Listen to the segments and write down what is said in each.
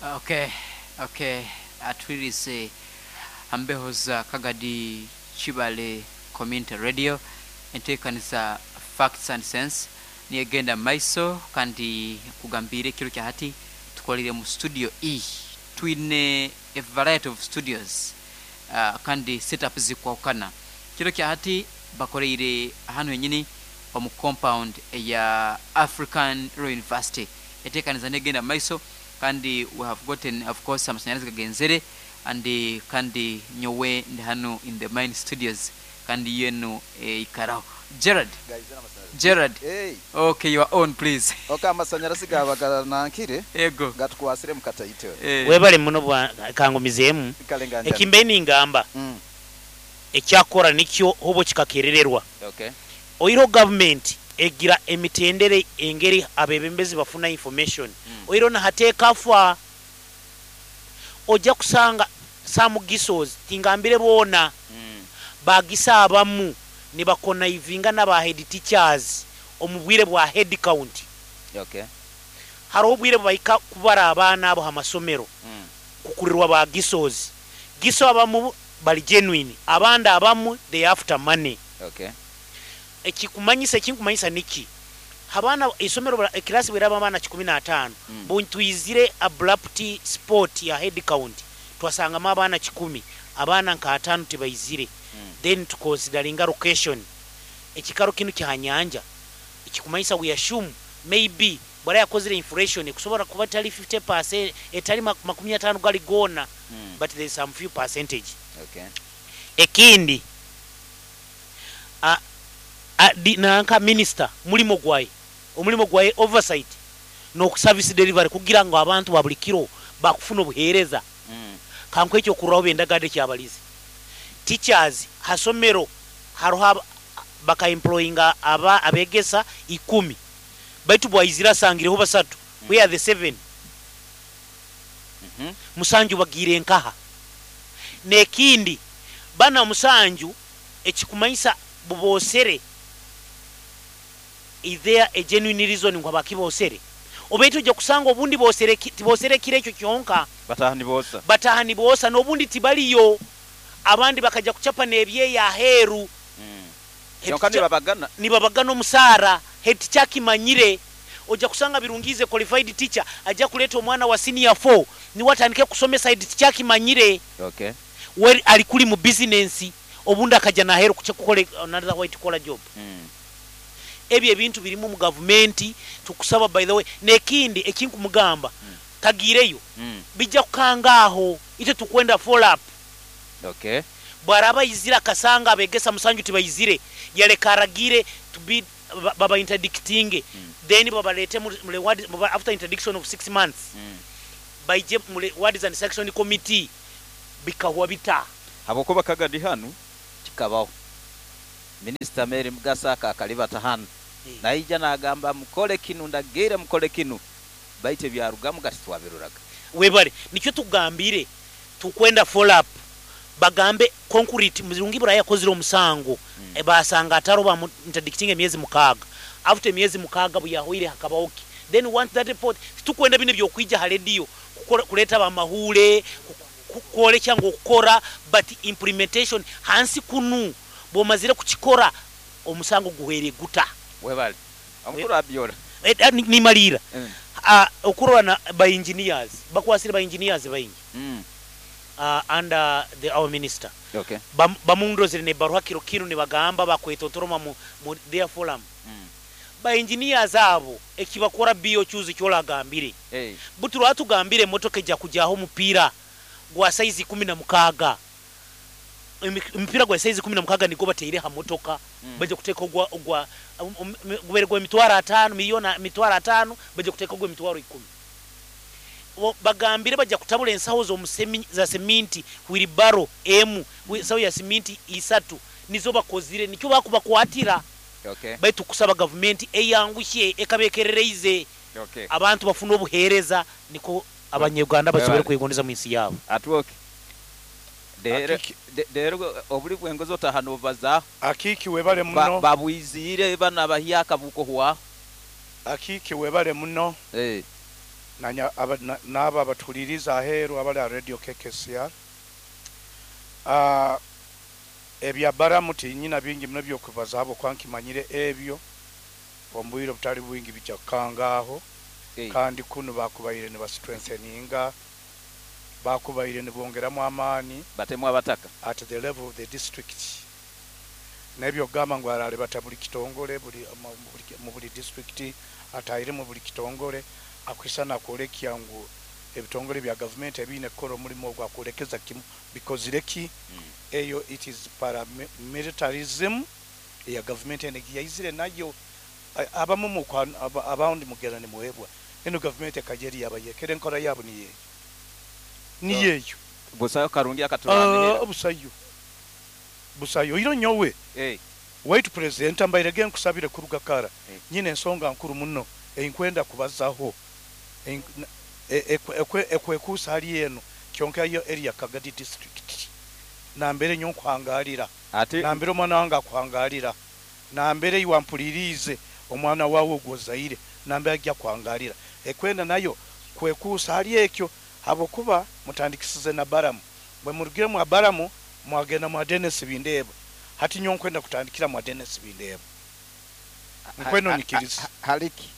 Okay, atwirize hambeho za Kagadi Kibale Community Radio, enteekaniza Facts and Sense niyegenda maiso. Kandi kugambiire ekiro kya hati tukolire mu studio E. Twine a variety of studios kandi setup zikwahukana. Kiro kya hati bakoreire hanu henyini omu compound eya African Royal University. Enteekaniza negenda maiso kandi we have gotten, of course, amasanyarazi gagenzere and kandi nyowe ndi hanu in the main studios kandi yenu eikaraho. Gerard, Gerard, Hey. Okay, you are on, please. Okay, amasanyarazi gaba ganankire. Ego. Gatukwasire mukataito. Webale muno bwa kangumizeemu. Kale nganja. Ekimbe ningamba ekyakora nikyo hobo kikakerererwa. Oiro government egira emitendere engeri abebembezi bafuna information. Oiro nahateeka fa ojja kusanga some gisos tingambire boona bagisa abamu nibakonaivinga n'aba head teachers omu bwire bwa head count. Hariho obwire bwahika kubara abaana abo ha masomero kukurirwa ba gisos. Giso abamu bali genuine, abandi abamu they after money. Ekikumanyisa, ekinkumanyisa niki, abaana isomero ekirasi bweraba abaana 15, buntwizire abrupt sport ya head count twasangamu abaana 10, abaana nka 5 tibaizire. Then tuconsideringa location, ekikaro kinu kyanyanja, ekikumanyisa we assume maybe bwara yakozire inflation kusobora kuba tali 50%, etali 50 gali gona, but there is some few percentage. Ekindi nanka minister mulimo gwaye, omulimo gwaye oversight no service delivery kugira ngo abantu ba buli kiro bakufuna obuhereza. Kanko ekyo kurraho bendagade kyabalizi teachers hasomero haroha baka employinga aba abegesa 10, baitu bwaizira sangireho basatu. We are the 7. Musanju bagire nkaha nekindi bana musanju ekikumanyisa bubosere. Is there a genuine reason ngo bakibosere obeito ojja kusanga obundi bosere tibosere kire ekyo kyonka. Batahani bosa. Batahani bosa n'obundi tibaliyo, abandi bakaja kuchapa n'ebyeya aheeru. Kyonka nibabagana. Nibabagana omusaara. Head teacher akimanyire ojja kusanga Birungize qualified teacher ajja kuleta omwana wa senior 4 niwe atandike kusomesa. Head teacher akimanyire. We ali kuli mu business, obundi akaja naheru kucha kukole another white collar job. Ebyo ebintu birimu mu gavumenti tukusaba. By the way, nekindi ekinkumugamba, tagireyo, bijja kukangaaho ite tukwenda follow up. Bwaraba izira akasanga abegesa musanju tibayizire, yaleka aragire to be baba interdicting, then babalete mu reward, after interdiction of 6 months, baije mu rewards and sanction committee bikahwa bita. Habokuba Kagadi hanu kikabaho Minister Mary Mugasa akakalibata hanu. Naija nagamba mukole kinu, ndagire mukole kinu, baite byarugamu gati twabiruraga. Webale nikyo tugambire tukwenda follow up, bagambe concrete Muzirungi buraya yakozire omusango. Basanga ataro ba interdicting emyezi 6, after emyezi 6 buyahoire hakabaoki, then want that report. Tukwenda bino byokwija ha radio kuleta bamahule kwolekya ngo okukora, but implementation hansi kunu bomazire kukikora omusango guhere guta. Webale omukuru abyora. Nimalira. Okurora na by engineers bakwasire ba engineers baingi under the our minister. Bamundozere ne baruha kiro kiro ne bagamba bakwetotoroma mu their forum. Ba engineers abo ekibakora bio choose kyolagambire. Butu lwatugambire motoka ejja kujaho mupira gwa size 16. Mpira gwa size 16 nigo bateire ha motoka. Baje kuteka ogwa gubere gwa mitwaro 5 milioni mitwaro 5, baje kuteka ogwa mitwaro 10. Bagambire baje kutabula ensaho zo musemi za seminti wheelbarrow emu, sawo ya seminti 3 nizo bakozire nikyo bakubakwatira. Baitu kusaba government eyangushe ekabekerereize. Abantu bafuna obuhereza niko abanyarwanda basobora kwegondeza mu nsi yabo. Atwoke. Dero obuli bwengozo tahano baza. Akiki webale muno. Babwizire bana bahiaka buko hwa. Akiki webale muno. N'abo abatuhuliriza aheeru abali ha Radio KKCR, ebya Baramu tinyina bingi muno byokubaza habwokuba nkimanyire ebyo omu bwire obutali bwingi bijja kukangaaho. Kandi kunu bakubaire nibastrengtheninga, bakubaire nibongeramu amaani batemu abataka at the level of the district. Nebyo kugamba ngu aralebata buli kitongole mu buli district, atahiremu buli kitongole, akwisana akwolekya ngu ebitongole bya gavumenti ebiine kukora omulimu ogwo akwolekeza kimu bikozire ki. Eyo it is paramilitarism eya gavumenti eno yaizire nayo. Abamu abandi mugenda nimuhebwa eno gavumenti ekajeri yabayekera enkora yabo niyeeyo niyeeyo. Busayo karungi akaturanira. Busayo busayo iro nyowe waitu president mbairege nkusabire kuruga kara. Nyine ensonga nkuru muno einkwenda kubazaho ekwekuusa hali eno kyonka yo area Kagadi district nambere nyo nkuhangalira, nambere omwana wange akuhangalira, nambere iwampulirize omwana wawe ogwozaire nambere ajja kuhangalira ekwenda nayo kwekuusa hali ekyo, habwokuba mutandikisize na Baramu, bwe murugire mu Baramu mwagenda mwa Dennis Bindeba. Hati nyo nkwenda kutandikira mwa Dennis Bindeba. Nkwenda onyikirize. Haliki.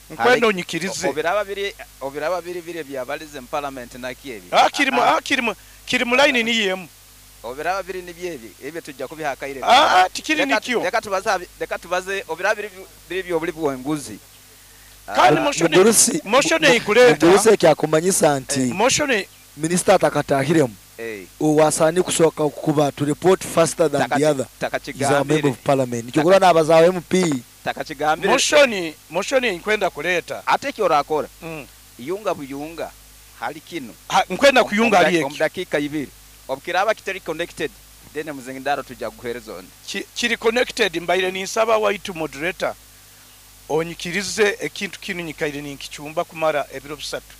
Nkwenda onyikirize. Obiraba biri biri byabalize mu parliament nakyebi. Kiri mu line ni yemu. Obiraba biri ni byebi ebyo tujja kubihakaire. Tikiri nikyo. Leka tubaze obiraba biri biri byobuli bwenguzi. Kandi motion ikuleta. Mugurusi ekyakumanyisa nti motion minister atakatahiremu. Owasani kusoka kuba to report faster than the other is a member of parliament. Nikyo n'abazawo MP. Takachigambire. Motion nkwenda kuleta. Ate kyo orakora. Yunga buyunga hali kino. Nkwenda kuyunga hali ekyo. Dakika ibiri. Obukiraba kitari connected then muzingindaro tujja kuhereza on. Kiri connected mbaire ninsaba waitu moderator onyikirize ekintu kinu nyikaire ninkichumba kumara ebiro bisatu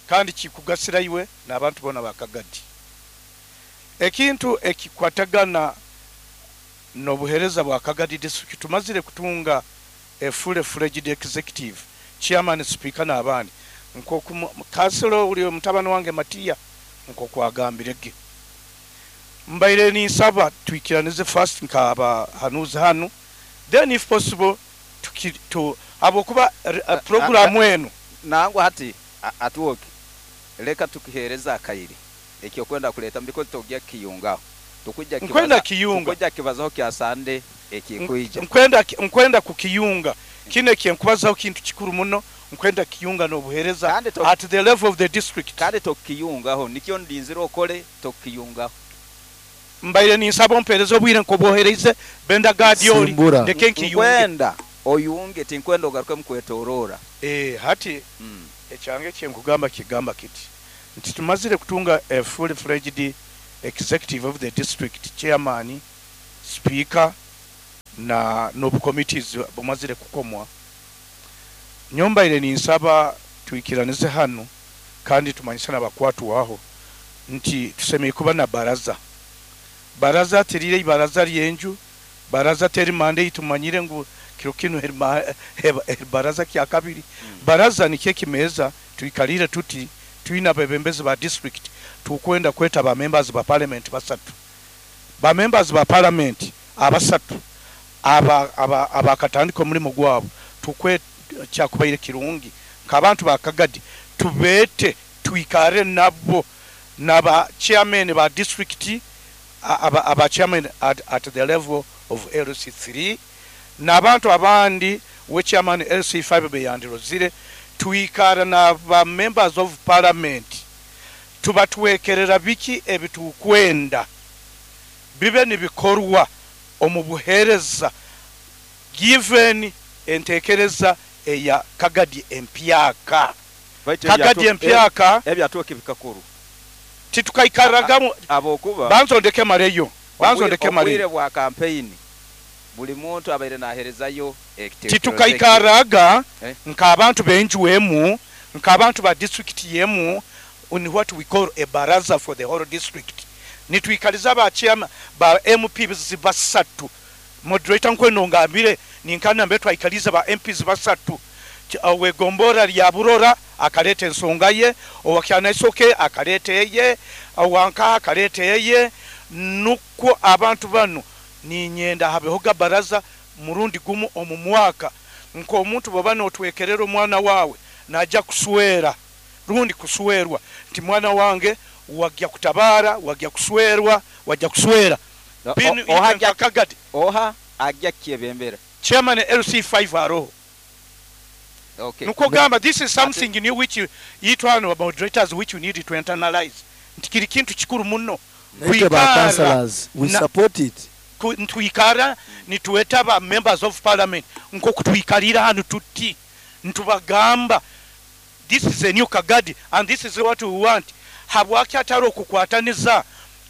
kandi kikugasira iwe n'abantu bona bakagadi. Ekintu ekikwatagana n'obuhereza bwa Kagadi district, tumazire kutunga a full fledged executive chairman, speaker n'abandi nkoku kanselo uli mutabani wange Matia nkoku agambirege. Mbaire ninsaba twikiranize first nkaba hanuzi hanu, then if possible to abokuba program eno nangwa hati atuoke leka tukihereza akairi ekyo kwenda kuleta mbiko togya kiyunga tukujja kibaza kiyunga tukujja kibazaho kya Sande ekikuija nkwenda kukiyunga kine kyenkubazaho kintu kikuru muno nkwenda kiyunga n'obuhereza at the level of the district. Kandi tokiyungaho nikyo ndinzira okole tokiyungaho. Mbaire ninsaba ompereza obwire nkobohereze Benda Gadioli ndeke nkiyunge. Nkwenda oyunge tinkwenda ogaruke mukwetorora. Hati ekyange kyenkugamba kigamba kiti nti tumazire kutunga a full fledged executive of the district, chairman, speaker na nobu committees bumazire kukomwa. Nyombaire ninsaba tuikiranize hano kandi tumanyisana bakwatu aho nti tusemeye kuba na baraza. Baraza terire ibaraza ryenju, baraza teri mande itumanyire ngu kiro kino baraza kya kabiri. Baraza ni keki meza tuikalire tuti tuina bebembezi ba district tukwenda kweta ba members ba parliament basatu. Ba members ba parliament abasatu aba abakatandika omulimo gwabo tukwe kyakubaire kirungi nkabantu ba Kagadi tubete tuikare nabo naba chairman ba district aba chairman at the level of LC3 n'abantu abandi we chairman LC5 beyandirozire tuikara na ba members of parliament tubatwekerera biki ebitukwenda bibe nibikorwa omubuhereza given entekereza eya Kagadi empyaka. Kagadi empyaka ebyatuke bikakuru titukaikaragamu abokuba banzondeke mareyo banzondeke mareyo obwire bwa campaign buli muntu abaire naherezayo titukaikaraga nka abantu benjuwemu nka abantu ba district yemu on what we call a baraza for the whole district. Nituikaliza ba chairman ba MPs basatu moderator nkweno ngambire ninkana mbe twaikaliza ba MPs basatu we gombora lya Burora akaleta ensonga ye, owa Kyanaisoke akaleta eye, owanka akaleta eye, nukwo abantu banu ninyenda habehoga baraza murundi gumu omu mwaka. Nk'omuntu bw'oba n'otwekerera omwana wawe najja kuswera rundi kuswerwa nti mwana wange wajja kutabara, wajja kuswerwa, wajja kuswera. Oha Kagadi oha ajja kyebembera chairman LC5 aroho. Okay. Nuko gamba this is something new which itwano moderators which you need to internalize. Nti kiri kintu kikuru muno. We councillors, we support it. Ntwikara nituweta ba members of parliament nko kutwikalira hano tuti ntubagamba this is a new Kagadi and this is what we want. Habwaki ataro okukwataniza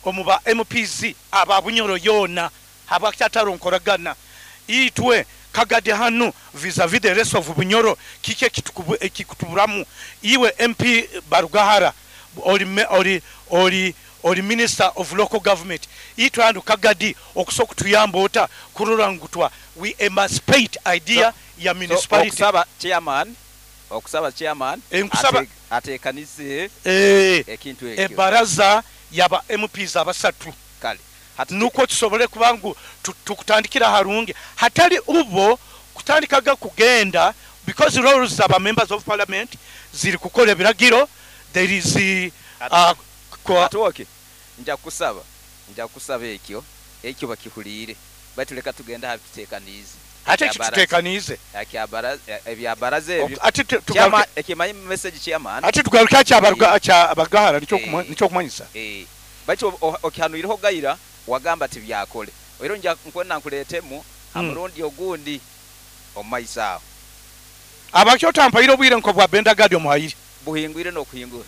omu ba MPs aba Bunyoro yona, habwaki ataro nkoragana itwe Kagadi hanu vis-a-vis the rest of Bunyoro kike kikutuburamu. Iwe MP Barugahara oli minister of local government, itwe hanu Kagadi okusobola kutuyamba ota kurora ngutwa we emancipate idea ya municipality. So, okusaba chairman atekanise ekintu ekyo ebaraza yaba MPs abasatu kale nuko tusobole kubangu tukutandikira harungi hatali ubo kutandikaga kugenda because roles aba members of parliament ziri kukola ebiragiro. There is atoke nja kusaba ekyo bakihuliire batuleka tugenda habitutekanize ate kitutekanize ebyabaraza ebyo ate tugaruke ekimanyi message chairman ate tugaruke abarugahara nicyo kumanyisa baitu okihanuireho gaira wagamba tibyakole era nja nkwena nkuletemu amurundi ogundi omaisa aho abakyo tampaire obwire nko bwa Benda Gadi omuhayire buhingwire no kuhingura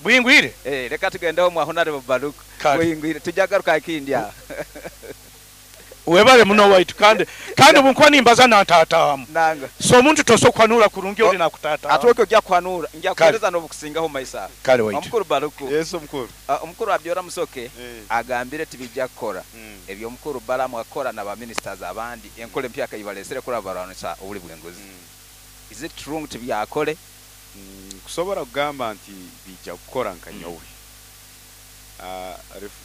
buhingwire reka tugendeho mu honorable Baruku buhingwire tujagaruka kindi aho webale muno waitu kandi bunkuwa nimbaza nantatamu nanga so omuntu tosobola kwanura kurungi oli nakutatamu atoke ojja kwanura nja kuhereza n'obukusingaho maisa kale waitu. Omukuru Baruku. Yes omukuru. Omukuru Abyora Musoke agambire tibijja kukora ebyo omukuru Balamu akora na ba ministers abandi enkole empyaka ibalesere kuri abaranisa obuli bwenguzi. Is it true nti byakole? Kusobora kugamba nti bijja kukora nka nyowe.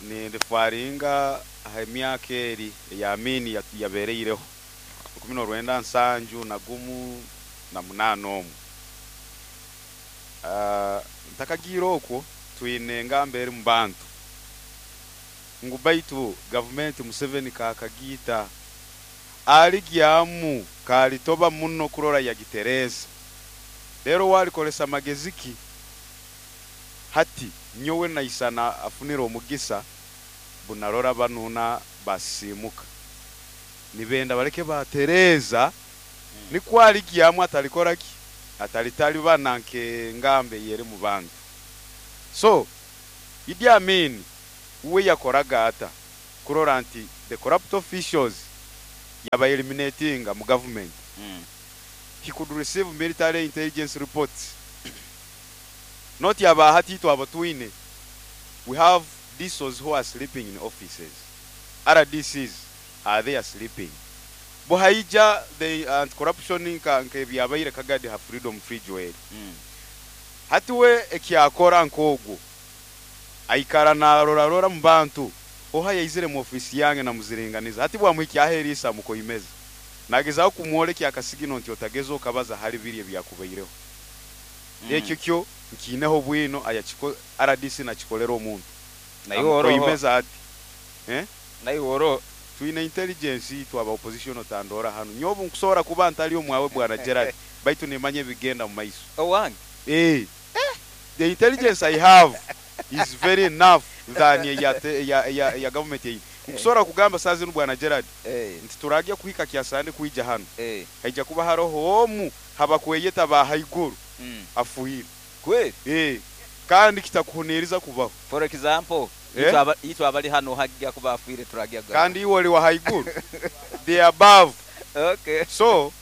Ni referringa emyaka eri ya Amini yabereireho 1978 omu. Ntakagira okwo twine engamba eri mu bantu ngu baitu gavumenti Museveni kakagita aligyamu kalitoba muno kurora yagitereza rero walikolesa mageziki hati nyowe naisana afunira omugisa bunarora banuna basimuka nibenda baleke batereza nikwaligiamu atalikora ki atalitali bananke ngambe yere mu bantu. So Idi Amin uwe yakoraga ata kurora nti the corrupt officials yaba eliminatinga mu government. He could receive military intelligence reports. Not yaba hati abatwine. We have DSOs who are sleeping in offices. RDCs are there sleeping. Buhaija the anti-corruption nka byabaire Kagadi ha freedom free joel. Hatiwe ekyakora nkogo aikara na rora rora mu bantu oha yaizire mu office yange na muziringaniza hati bwamuhikyaherisa mukoimeza nagezaho kumwoleka akasigino nti otagezo kabaza hali biri byakubaireho. Ekyo kyo nkineho bwino ayachiko RDC nakikolera omuntu nayo ati nayo oro twine intelligence itwa aba opposition otandora hano nyobu nkusobora kuba ntali omwawe bwana Gerard baitu nimanye bigenda mu maiso owange. The intelligence I have is very enough than ya government yi. Nkusobora kugamba sazi bwana Gerard nti turajya kuhika kyasande kuija hano haija kuba haroho omu habakweyeta ba haiguru afuhire kweli kandi kitakuhuniriza kubaho. For example itwa abali hano hajya kuba afuire turajya kandi iwe oli wa haiguru they above. Okay, so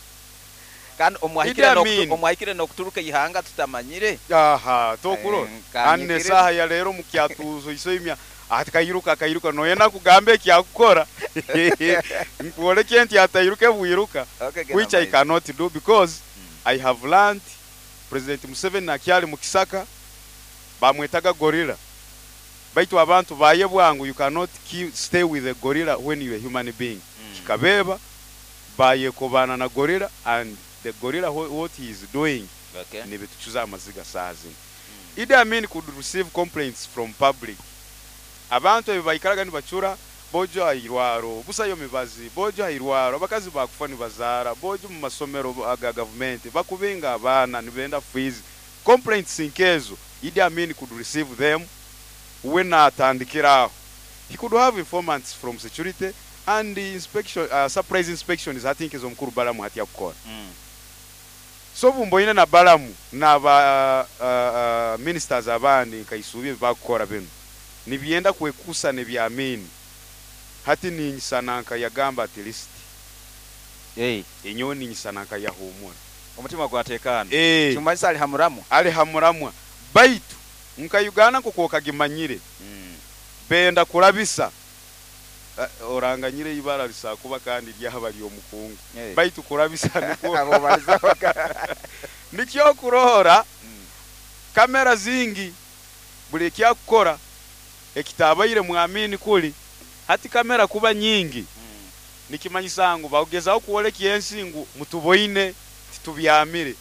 kandi omwahikire nokuturuka ihanga tutamanyire. Aha tokuro anne saha ya lero mukyatuzo isoimya atakairuka akairuka noyena kugambe ekyakukora nkuoleke nti atairuke bwiruka, which I cannot do because I have learned President Museveni akyali mu kisaka, bamwetaga gorilla, baitu abantu bayebwa ngu you cannot stay with a gorilla when you are a human being. Kikabeeba, bayekobana na gorilla, and the gorilla what he is doing nibitucuza amaziga saaha zinu. Idi Amin could receive complaints from public. Abantu ebi baikaraga nibacura, bojo hairwaro busayo mibazi, bojo hairwaro abakazi bakufa nibazaara, bojo mu masomero aga gavumenti bakubinga abaana nibenda fees. Complaints nkezo Idi Amin could receive them. We natandikira aho, he could have informants from security and the inspection, surprise inspections hati nkezo omukuru Balamu hati akukora. So bumboine na Balamu n'aba ministers abandi nkaisubye bakukora bino nibyenda kwekusa nebya Amin. Hati ninyisana nka yagamba at least enyowe ninyisana nka yahumura, omutima gwatekana. Kimanyisa ali hamuramwa, ali hamuramwa. Baitu nka Uganda nko kokagimanyire benda kurabisa oranganyire ibara lisakuba kandi ryaba lyomukungu. Baitu kurabisa niko nikyo kurohora kamera zingi buli kyakukora ekitabaire mwamini kuli hati kamera kuba nyingi. Nikimanyisa ngu bagezaho kuoleka ensi ngu mutuboine titubyamire,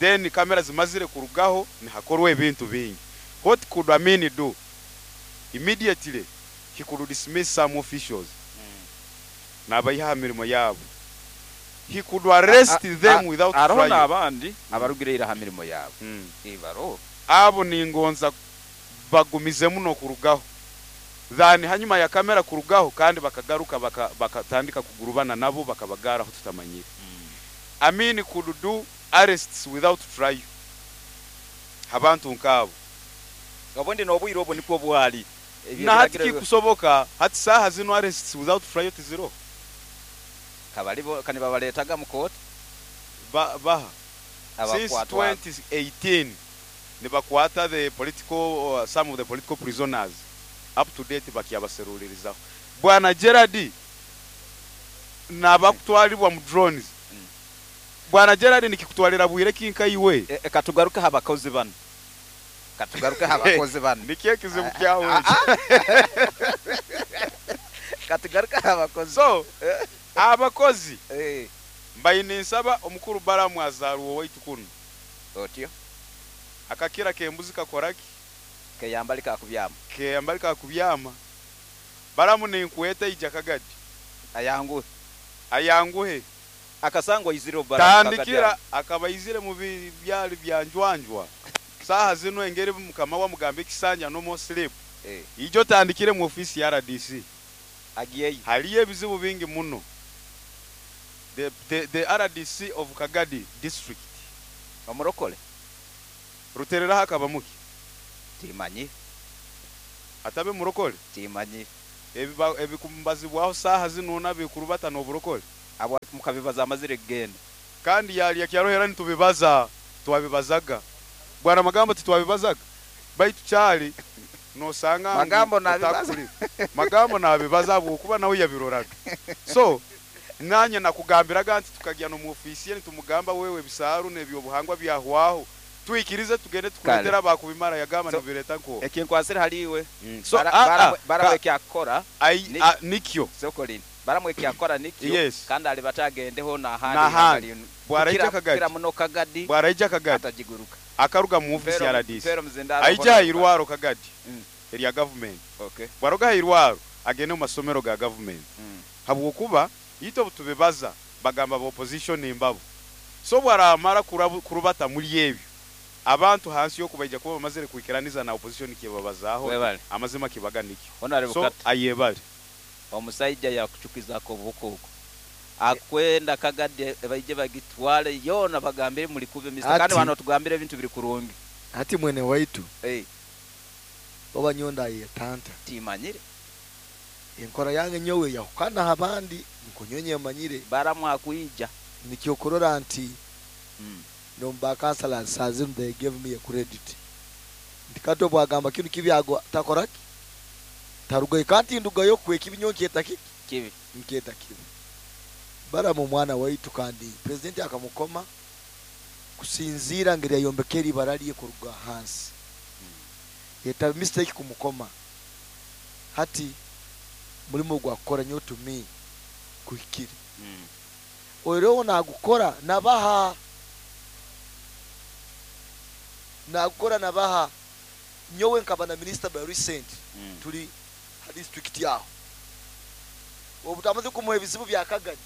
then kamera zimazire kurugaho nihakorwa ebintu bingi. What could Amin do? Immediately he could dismiss some officials. Nabayiha mirimo yabo. He could arrest them without trial. Abandi abarugire ha mirimo yabo. Ibaro abo ningonza bagumize muno kurugaho. Then hanyuma ya kamera kurugaho kandi bakagaruka bakatandika kugurubana nabo bakabagara aho tutamanyire. Amin could do arrests without trial. Abantu nkabo. Obundi nobwire obo niko bwali. Na hati kikusoboka hati saha zino arrests without trial tiziro. Kabalibo kani babaletaga mu court baha since 2018 nibakwata the political some of the political prisoners up to date bakiyabaserulirizaho. Bwana Gerard nabakutwalibwa mu drones. Bwana Gerard nikikutwalira bwire kinka iwe. Katugaruka abakozi bano. Katugaruka abakozi bano. Nikiye kizibu kyawe. Katugaruka abakozi. So abakozi mbayine nsaba omukuru Balamu azaruwo waitu kuno. Otyo. Akakira kembuzi kakoraki? Keyambalika kubyama. Keyambalika kubyama. Balamu ninkweta ija Kagadi. Ayanguhe. Ayanguhe. Akasangwa izire Balamu. Tandikira akabaizire mu byali byanjwanjwa. Saha zino engeri mukama wa mugambe kisanja no more sleep. Ijo tandikire mu office ya RDC. Agiyeyo. Haliye bizibu bingi muno. The RDC of Kagadi district. Omurokole. Ruterera hakaba muki? Timanyi. Atabe murokole? Timanyi. Ebikumbazibwaho saha zino nabikurubata n'oburokole. Abo mukabibaza amazire genda. Kandi yali yakyarohera nitubibaza, twabibazaga. Bwana Magambo titwabibazaga. Baitu cyali nosanga Magambo nabibaza. Magambo nabibaza kuba nawe yabiroraga. So nanye nakugambiraga nti tukagiya no mu ofisi nitumugamba wewe bisaru nebyo buhangwa byahwaho. Tuikirize tugende tukuletera bakubimara yagamba so, nibireta nko. Ekinkwasira haliwe. So baramwe kyakora nikyo. Sokolini. Baramwe kyakora nikyo. Yes. Kandi ali batagendeho na handi. Bwaraija Kagadi. Kira muno Kagadi. Bwaraija Kagadi. Atajiguruka. Akaruga mu ofisi ya RDC. Aija irwaro Kagadi. Erya government. Okay. Bwaroga irwaro agende mu masomero ga government. Habwokuba ito butubebaza bagamba ba opposition imbabo. So bwaramara kurubata muri ebyo. Abantu hansi yo kubaija kuba bamazire kuikiraniza na opposition kibabazaho amazima kibaga nikyo. So ayebale. Omusaija yakuchukizako obukoko. Akwenda Kagadi baije bagitwale yona bagambire muri kube Mr. Kandi wano tugambire ebintu biri kurungi. Ati mwene waitu. Oba nyonda yetanta. Timanyire. Enkora yange nyowe yahukana abandi nkunyonye manyire. Baramu akuija. Nikyokorora nti nomba councillor sazim they gave me a credit. Ndikato bwagamba kinu kibyago takoraki. Tarugayo kandi ndugayo kwe kibinyo nketa kiki? Kibi. Nketa kibi. Baramu mwana waitu kandi president akamukoma Kusinziira ngeri yayombekera ibara lye kuruga hansi. Yetaba mistake kumukoma. Hati mulimo gwa kukora nyo to me kuhikire. Oireho nagukora nabaha, nagukora nabaha. Nyowe nkaba na minister by recent tuli ha district yaho, obu twamaze kumuha ebizibu bya Kagadi,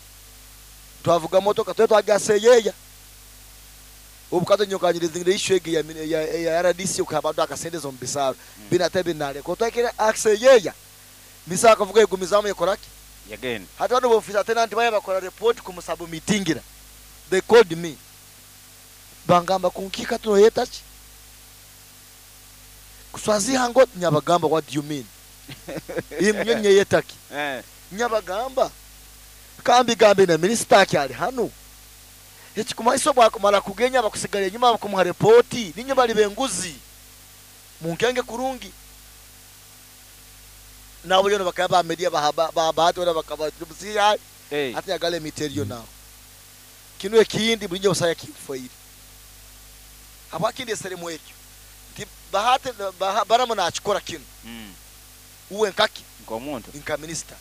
twavuga motoka twe twagaseyeya. Obu kato nyokanyiriza issue egi ya RDC okuha abantu akasente zo mu bisaro binate binaleko twakire aseyeya misa akavuga egumizamu yakoraki. Yagenda. Hati bano bofisa tenant baya bakora report kumusubmitingira. They called me, bangamba kunkika tunoyeta ki kuswaziha ngo nyabagamba, what do you mean? Imwe nyeyetaki? Nyabagamba kambi gambe na minister akyali hano ekikumaiso bwakumara kugenya bakusigala enyuma bakumuha repoti ninyo bali benguzi munkenge kurungi. Nabo yono bakaba media bahati ora bakaba tubusiya. Ati yagale miterio nawo kino ekindi bulinjo busaya kifoire abakindi eseremu ekyo nti bahati baramu nakikora kino. Uwe nkaki nkomuntu nka minister,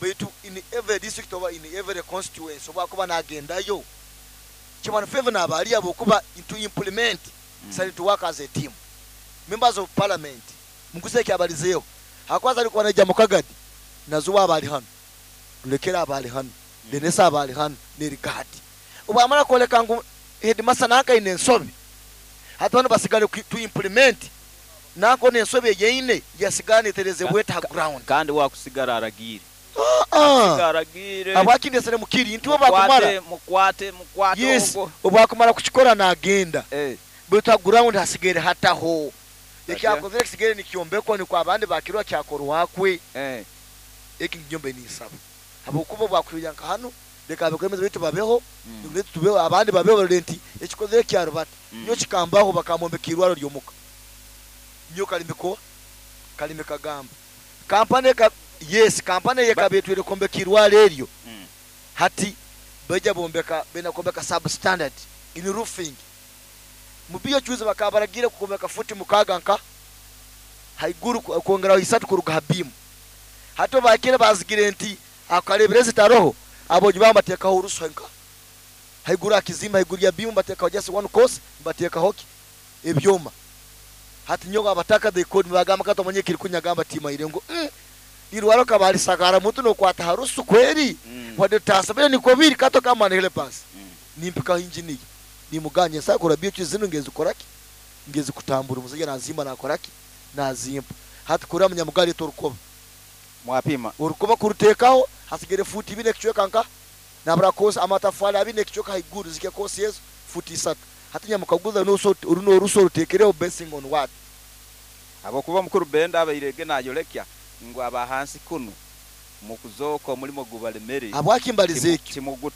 baitu in every district oba in every constituency oba kuba nagendayo kimana favor nabali abo kuba to implement sali to work as a team. Members of parliament muguse kyabalizeyo hakwaza alikuwa naija mukagadi nazuwa abali hano lulekera abali hano denesa abali hano nerigadi obamara koleka ngu headmaster naka ine ensobi hati bano basigale to implement nako nensobi yeine yasigane tereze bweta ground. Kandi wakusigara aragire. Aragire. Abakindesere mukiri nti obakumara mukwate mukwate. Yes, obakumara kuchikora na agenda. Bweta ground hasigere hataho. Ekyakozere kisigere nikyombekwa ni kwa abandi bakirwa kyakorwakwe. Eki nyombe ni isaba. Abokuba bwakuya nka hano leka abakwemeza bitu babeho mm. Tubeho abandi babeho renti ekikozere kyarubata. Nyo kikambaho bakamombeka irwaro lyomuka. Nyo kalimeko kalime kagamba. Kampane ka yes kampane yekabetwire kombeka irwaro eryo. Hati beja bombeka bena kombeka substandard in roofing. Mubiyo chuze bakabaragira kukombeka futi mukaga nka haiguru kongera isatu kuruga habimu. Hato bakire bazigire nti akalebereze taroho aboji bamateka uruso nka haiguru akizima haiguru ya bimu bateka just one course bateka hoki ebyoma. Hati nyoga abataka they code bagamba kato manye kiri kunyagamba tima irengo irwaro kabali sagara mutu no kwata harusu kweri wade tasabire ni kobiri kato kama ni helpers nimpika engineer nimuganye sakora biyo zino ngezi koraki ngezi kutambura umusajja nazimba nakoraki nazimba. Hati kura munyamugali torukoba mwapima urukoba kurutekaho hasigere futi bine kichweka nka nabra kosa amatafali abine kichweka haiguru zike kosi yezo futi isatu. Hati nyamukaguza no so uruno ruso rutekereho basing on what abokuba mukuru benda abairege nayorekya ngo abahansi kuno mukuzoko mulimo gubalemere abwakimbalize kimuguturu.